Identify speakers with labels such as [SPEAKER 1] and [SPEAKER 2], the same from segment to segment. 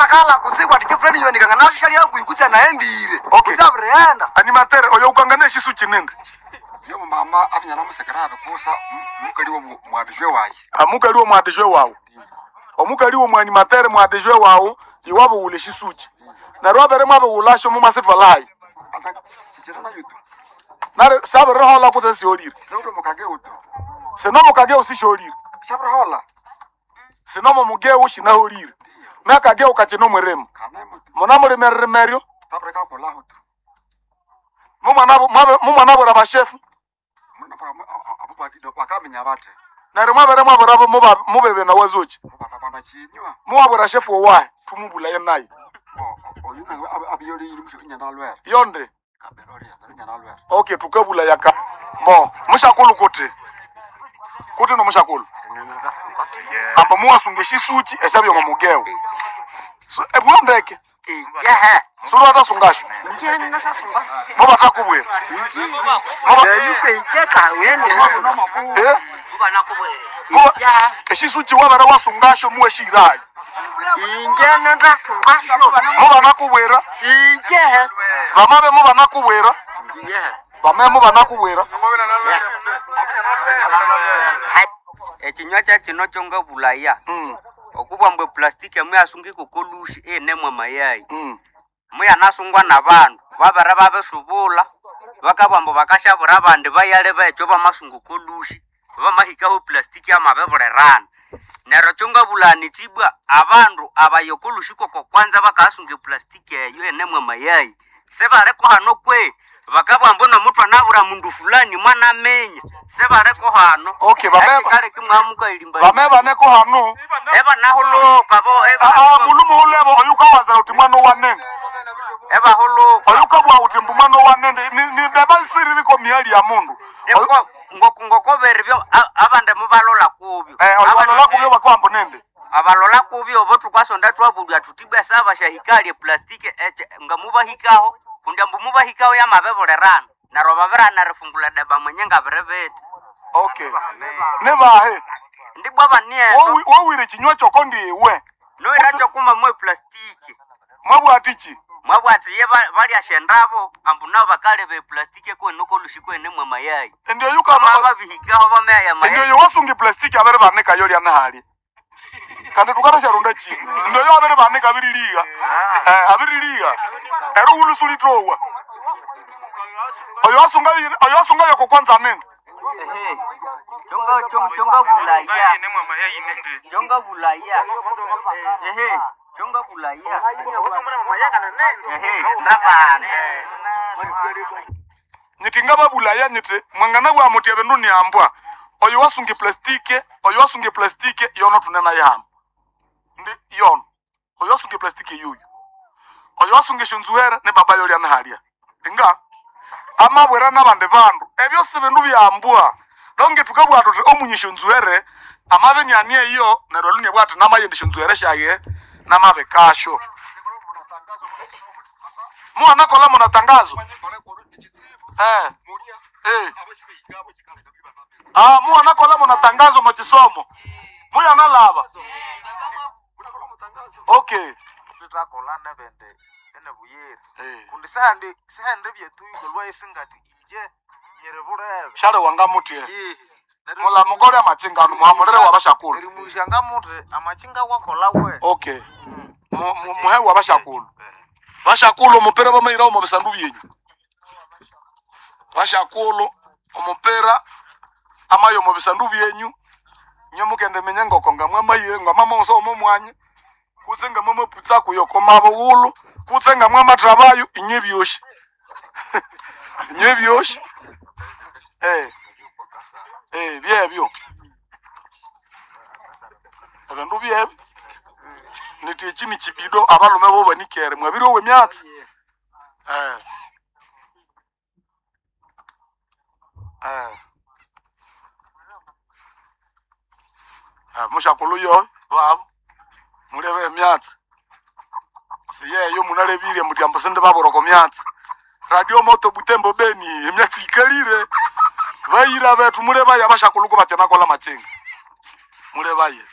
[SPEAKER 1] Akala kutsibu ati chifulani yonikanga nasho shali hakuhi naendire.
[SPEAKER 2] Okay.
[SPEAKER 1] Kutsi abirighenda.
[SPEAKER 2] Animatere oyo ukangana eshisuchi nindi.
[SPEAKER 3] Yo mama abinyana musekera abikusa mukali wo mwadijwe waye.
[SPEAKER 2] Amukali wo mwadijwe wawu. Omukali wo mwanimatere mwadijwe wawu iwabo ule shisuchi. Neryo abere mwabiwulasho mumasitwalayi.
[SPEAKER 3] Ata chichira na yutu.
[SPEAKER 2] Nare sabirihola kutse siholire.
[SPEAKER 3] Sinoto mukage utu.
[SPEAKER 2] Sinomo kageu sisholire.
[SPEAKER 3] Shabirihola.
[SPEAKER 2] Sinomo mugeu shinaholire. Nakageu kachino mweremo.
[SPEAKER 3] Kana mutu.
[SPEAKER 2] Munamulimererimeryo.
[SPEAKER 3] Tabreka kolaho tu.
[SPEAKER 2] Mumwanabura bashefu.
[SPEAKER 3] Muna pa abo badi bakamenya bate.
[SPEAKER 2] Neryo mwabere mwabura mubebe na wazuchi.
[SPEAKER 3] Mubana chinywa.
[SPEAKER 2] Muwabura shefu owahe tumubulaye naye.
[SPEAKER 3] Oyu nawe abiyoli yimusho inyana lwere.
[SPEAKER 2] Yonde.
[SPEAKER 3] Kabelori inyana lwere.
[SPEAKER 2] Okay, tukabula yaka. Bo, mushakulu kuti. Kuti no mushakulu. Amba muwasunge shisuchi eshabyo mumugeo. So ebwondeke.
[SPEAKER 1] Yehe.
[SPEAKER 2] Suru atasungasho. Muba takubwira. Eh? Muba eshisuchi wabere wasungasho muwe shirayi.
[SPEAKER 1] Inje ndasungasho.
[SPEAKER 2] Muba nakubwira.
[SPEAKER 1] Inje.
[SPEAKER 2] Bamabe muba nakubwira.
[SPEAKER 1] Yehe.
[SPEAKER 2] Bamabe muba nakubwira.
[SPEAKER 4] Ekinywa kya kino kyo ngabulaya. Okubwa mbwe plastiki muyasunga ikokolushi enemwa mayayi. Muyanasungwa nabandu babere babisubula bakabugha ambu bakashabura abandi bayale bekyo bamasunga okolushi bamahikaho plastiki amabibulirana. Neryo kyongabulaya niti ibwa abandu abaya okolushi koko kwanza bakasunga eplastiki eyo enemwa mayayi sibalikuhano kwe bakabugha ambu nomuthu anabura mundu fulani mwanaminya sibaliko hano.
[SPEAKER 2] Okay, bameba.
[SPEAKER 4] Ekikaleka imwamukayilimba.
[SPEAKER 2] Bameba neko hano.
[SPEAKER 4] Ebanahuluka bo
[SPEAKER 2] Ah, mulumu ulebo oyukawaza uti mwana wanene.
[SPEAKER 4] Ebahuluka.
[SPEAKER 2] Oyukabwa uti mbu mwana wanene ni beba siri liko miali ya mundu.
[SPEAKER 4] Ngokobere byo abandi mubalola kubyo.
[SPEAKER 2] Abalola kubyo bakwambo nende.
[SPEAKER 4] Abalola kubyo bo tukasonda twabulya tutibwa saba shahikali plastiki eche nga mubahikaho kundi ambu mubahikaho yamabebulerana. Neryo babirana rifungula deba mwenye ngabirebete.
[SPEAKER 2] Okay. Nebahe.
[SPEAKER 4] Ndibwa baniendo.
[SPEAKER 2] Wowire chinywa choko ndiwe.
[SPEAKER 4] Noira chokuma mwe plastiki.
[SPEAKER 2] Mwabwatichi.
[SPEAKER 4] Mwabwati ye balyashendabo ambu nabo bakaleba eplastiki kwenu kolushi kwene mwe mayayi.
[SPEAKER 2] Ndio yuka
[SPEAKER 4] babihikaho bameya mayayi.
[SPEAKER 2] Ndio yowasunga plastiki abere baneka yoli anahali. Kandi tukarasharunda chini. Ndio yo abere baneka abiriliga. Abiriliga. Ero ulusulitowa. Oyo wasunga yoko kwanza nini?
[SPEAKER 4] Chonga chonga bulaya. Chonga bulaya. Ehe. Chonga bulaya. Ehe, ndabana.
[SPEAKER 2] Nyiti ngaba bulaya nyiti mwangana bwa muti ebindu ni ambwa. Oyo wasunga plastiki, oyo wasunga plastiki yono tunena yam. Ndi yono. Oyo wasunga plastiki yuyu. Oyo wasunga shunzuera ne baba yoli anahalia. Inga amabwera nabandi bandu ebyo si bindu byambwa. Longe tukabwa tuti omunyisho nzuere amabe nyanie iyo neryo lunie bwati namayendisho nzuere shaye namabe kasho. Mwana kola muna tangazo. Ah, mwana kola muna tangazo mu kisomo. Muya nalaba. Okay.
[SPEAKER 5] Tutakola nebende ene buyere. Kundi sehandi sehandi byetu ikolwa isingati inje nyerebulebe.
[SPEAKER 2] Shale wanga mutie. Mula mugore amachinga muhamulire wabashakulu.
[SPEAKER 5] Erimushanga muti amachinga wakola we.
[SPEAKER 2] Okay. Muhe wabashakulu. Bashakulu omupira bamaira omu bisandu byenyu. Bashakulu omupira amayo mu bisandu byenyu. Nyo mukende menye ngoko ngamwe maye ngama monso omo mwanya. Kutse ngamwe maputsa kuyoko mabowulu. Kutse ngamwe matrabayo inye byoshi. Inye byoshi. Byebyo. Ebindu byebyo. Niti eki ni kibido abalume bo banikere mwabiri owe myatsi. Mushakulu yo babo mulebe emyatsi. Siyeyo munalebire muti ambosende baboroko myatsi. Radio Moto Butembo Beni emyatsi ikalire. Bayira betu muleba yabashakulu ko batena kola machinga. Mulebaye.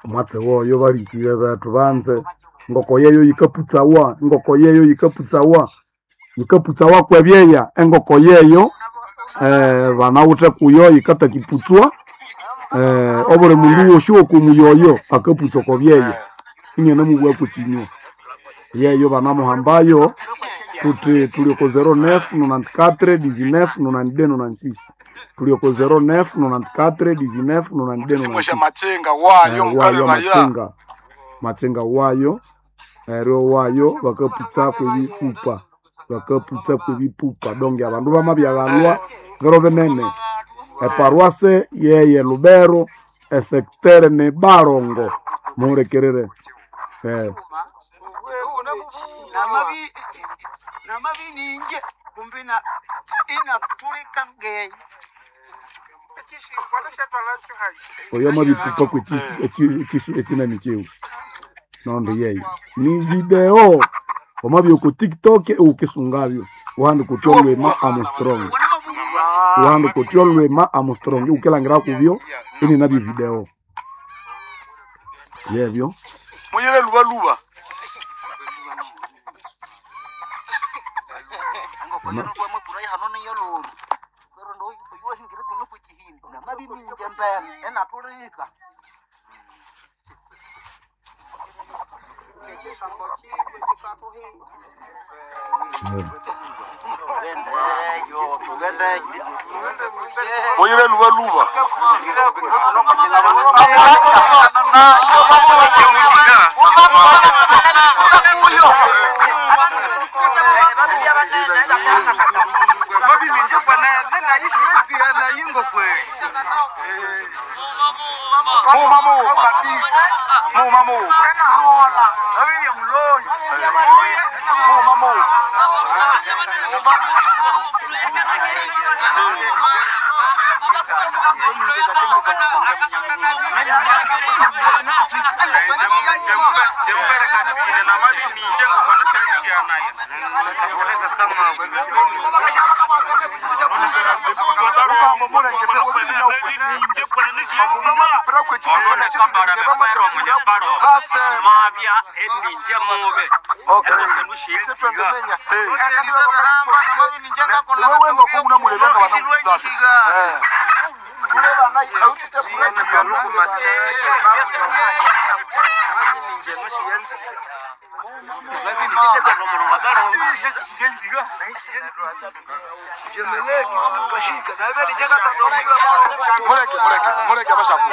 [SPEAKER 2] Omwatsi woyo balikiwe bethu banze ngoko yeyo yikaputsawa, engoko yeyo yikaputsawa, yikaputsawa kwebyeya engoko yeyo banawithe kuyo yikatakiputswa obuli mundu wosi wokumuyoyo akaputsa oko byeya inyanamubugha kwekinywa yeyo banamuhambayo tuti tuli oko 09 94 19 92 96 tuli oko 09 94 19 92
[SPEAKER 6] Simwesha
[SPEAKER 2] 96
[SPEAKER 6] machinga wayo
[SPEAKER 2] wayo
[SPEAKER 6] mukale baya
[SPEAKER 2] machinga machinga wayo eryo wayo bakaputsa kwebipupa bakaputsa kwebipupa donge abandu bamabyaghalwa biro binene eparuase yeye Lubero esektere ni Barongo muhulikirire
[SPEAKER 1] namabininje kumbi inatulika ngeyi
[SPEAKER 2] oyo amabipupa kwekinani kyewu nondo yeyo ni video wamabya oku TikTok ukisungabyo uhandika uthi Olwema Armstrong uhandika uthi Olwema Armstrong ukilangira kubyo ininabyo video yebyo
[SPEAKER 6] muyele lubaluba
[SPEAKER 1] namabininje mbene enatulika
[SPEAKER 6] muyele lubaluba muma muma muma muma muma muma
[SPEAKER 4] mabya eninje mube
[SPEAKER 6] muleke muleke muleke abashaku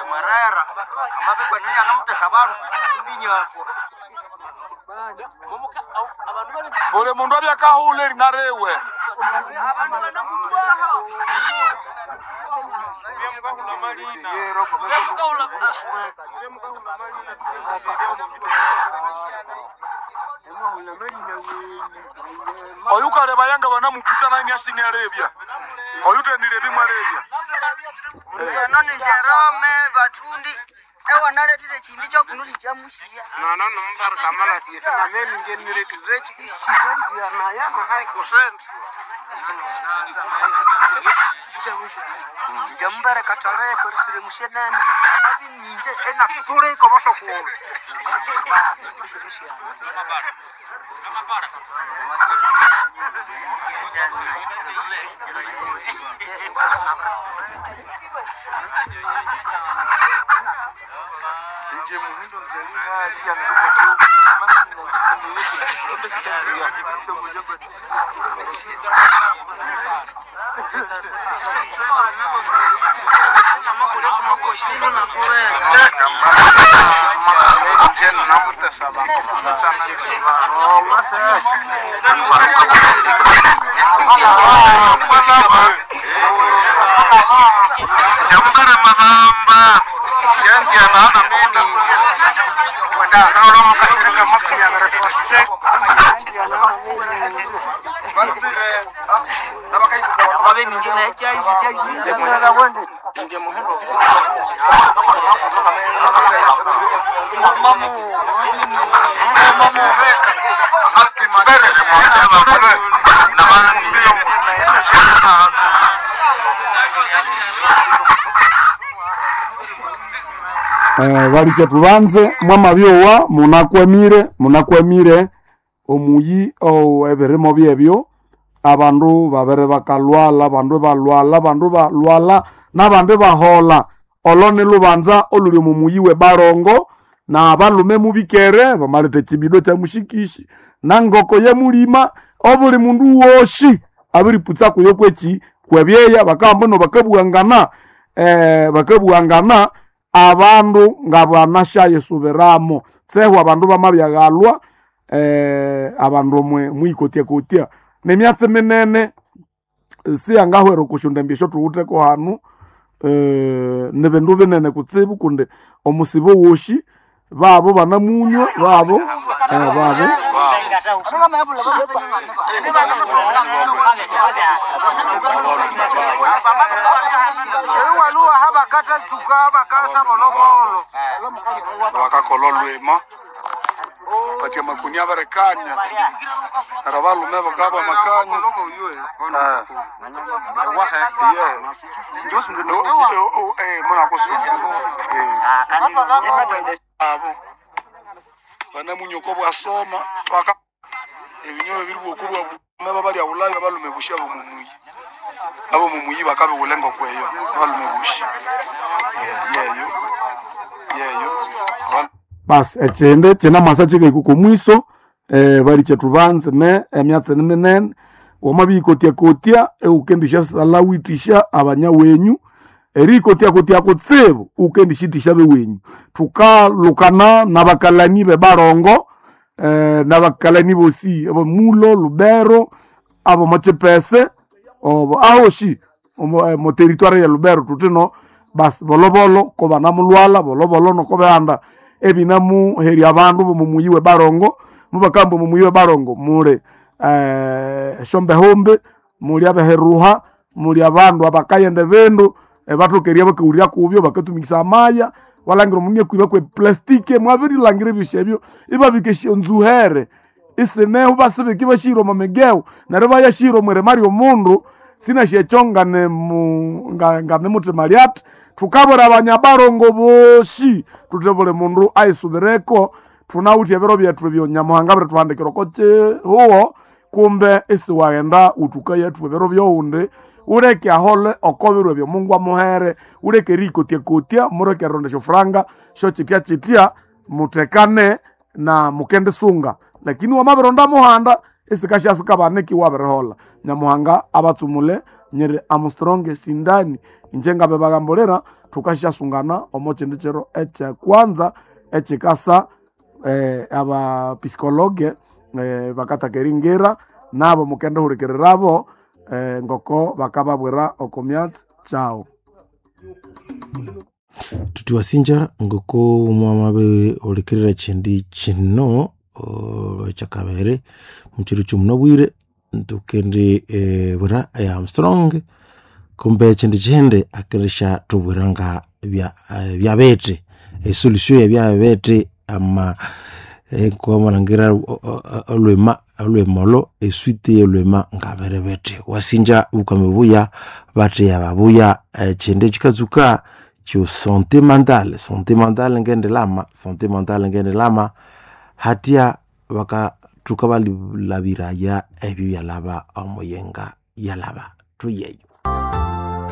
[SPEAKER 1] mwerera amabikwaniyanamuteha bandu ibinyakwa
[SPEAKER 6] buli mundu abyakahula erinarewe oyu kaleba yanga banamuputsa naini asini alebya oyu tendile bimwe alebya
[SPEAKER 1] eno ni Jerome batundi ewanaletile chindi chokunusi chamushiya njambere kataleko lisile mushenene amabininje enatuliko bosokulu
[SPEAKER 2] Balicha tubanze mwamabyowa munakwamire omuyi ebirimo byebyo abandu babere bakalwala abandu balwala abandu balwala n'abandi bahola. Olo ni lubanza oluli omu muyi we Barongo na abalume mubikere bamaleta ekibido kya mushikishi na ngoko yemulima obuli mundu woshi abiriputsa kuyo kweki kwebyeya bakahamba no bakabuhangana bakabuhangana abandu ngabanashayisubiramo tsehu abandu bamabyaghalwa abandu mwikotya-kotya nemyatsi minene siyangahwera okusyondembya esyo thuwitheko hanu nibindu binene kutsibu kundi omusibo woshi babo banamunywa babo babo
[SPEAKER 6] Bakakola olwima batia makuni abarekanya neryo abalume bakaba bamakanya. Abo banamunyoko bwasoma baka ebinywa biri bwoku bwa babalya bulayo abalume bushi abo mumuyi abo mumuyi bakabiwula engoko eyo abalume bushi yeyo yeyo.
[SPEAKER 2] Basi ekyindi kyinamasa kikahika oko mwiso balikye thubanze me emyatsi ni minene wamabiyikotya-kotya iwukendisyasalha withisya abanyawenyu eriyikotya-kotya kutsibu iwukendisyitisya abewenyu. Thukalukana nabakalani bebarongo nabakalani bosi abo Mulo, Lubero, abo mokyipese obo ahoshi omo territoire ye Lubero thuthino basi bolobolo kobanamulhwalha bolobolo nokobihanda ebinamuherya abandu bomo muyi we Barongo. Mubakamba omo muyi we Barongo muli esyombehombe, muli abeheruha, muli abandu abakayenda ebindu ebathoka eribya bakawulya kubyo bakatumikisa amaya walangira omundu inakwibya kwe plastic mwabirilhangira ebyosi ebyo ibabika esyonzuhere isineho basibika ibashihira omo migewu neryo ibayashihira omwirima lyomundu sinasyi ekyo nganimuthima lyathi. Thukabwira abanyabarongo bosi thuthi buli mundu ayisubireko thunawithe ebiro byethu ebyo Nyamuhanga abirithuhandikira oko kihugho kumbe isiwaghenda wuthukayathuwa ebiro byowundi wuleke ahole oko biro ebyo Mungu amuhere wuleke eriyikotya-kotya muleke erilonda esyofuranga syokyitya-kyitya muthekane na mukendisunga lakini wamabironda muhanda isikasyasikabanika iwabiriholha. Nyamuhanga abatsumule nyiri Armstrong Sindani inje ngabibagambulira thukasyasungana omo kyindi kiro ekyekwanza ekyikasa abapsikologe bakataka eringira nabo mukendihulikirirabo ngoko bakababwira oko myatsi kyawu.
[SPEAKER 7] Tutiwasinja ngoko mwamabe hulikirira kyindi kino ekyakabere mukiro ky'omunabwire tukendi bwira Armstrong kumbe ekyindi kihindi akeresya thubwira nga byabete esolution yebyabete ama nkomalhangira olwema olwema eswiti yolwema ngabiribete wasinja obukame buya batheya babuya ekyindi kyikatsuka kyo santé mentale. Santé mentale ngendilama santé mentale ngendilama hatya bakathuka balilabiraya ebyo byalaba omuyenga yalaba thuyeyo.